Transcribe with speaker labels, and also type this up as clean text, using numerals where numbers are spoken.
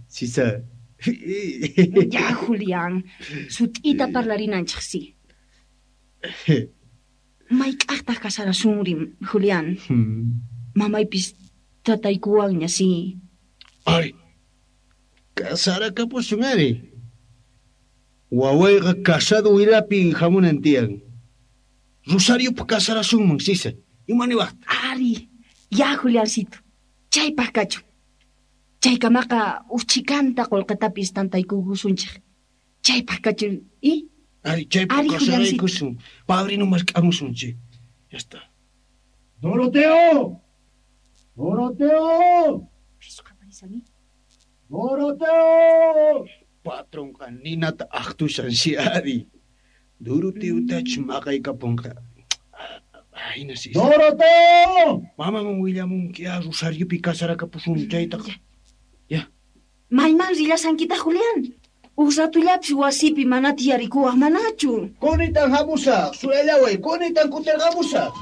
Speaker 1: Sisa.
Speaker 2: Ya, Julián, sut'ita parlarinanchis, sí. Mayk'aqtaq kasarasunri, Julián? Mamaypis trataykuwanña, sí.
Speaker 1: Ari, kasarakapusun ari. Wawayqa casado wilapi hamunan tiyan. Rosariopi kasarasunman, Sisa. Ima niwaqtaq?
Speaker 2: Ari, ya, Juliancito. Chaypaq kachun. Chaykamaqa uj chhikanta qullqitapis tantaykukusunchik. Chaypaq kachun, i?
Speaker 1: Ari, chaypaq
Speaker 2: Ari, Juliancito.
Speaker 1: kasaraykusun. Padrino mask'amusun, chi. Ya está.
Speaker 3: ¡Doroteo! ¡Doroteo!
Speaker 2: Pis qaparishan, i?
Speaker 3: ¡Doroteo!
Speaker 1: Patronqa ninata aqtushan si ari. Doroteotach maqaykapunqa. Ahina Sisa.
Speaker 3: ¡Doroteo!
Speaker 1: Mamaman willamunki ya Rosariopi kasarakapusun chaytaqa. Ya.
Speaker 2: Mayman rillasankitaq, Julián? Uj ratullapis wasipi mana tiyarikuwaq manachu.
Speaker 1: Kunitan hamusaq, suyallaway, kunitan kutirqamusaq.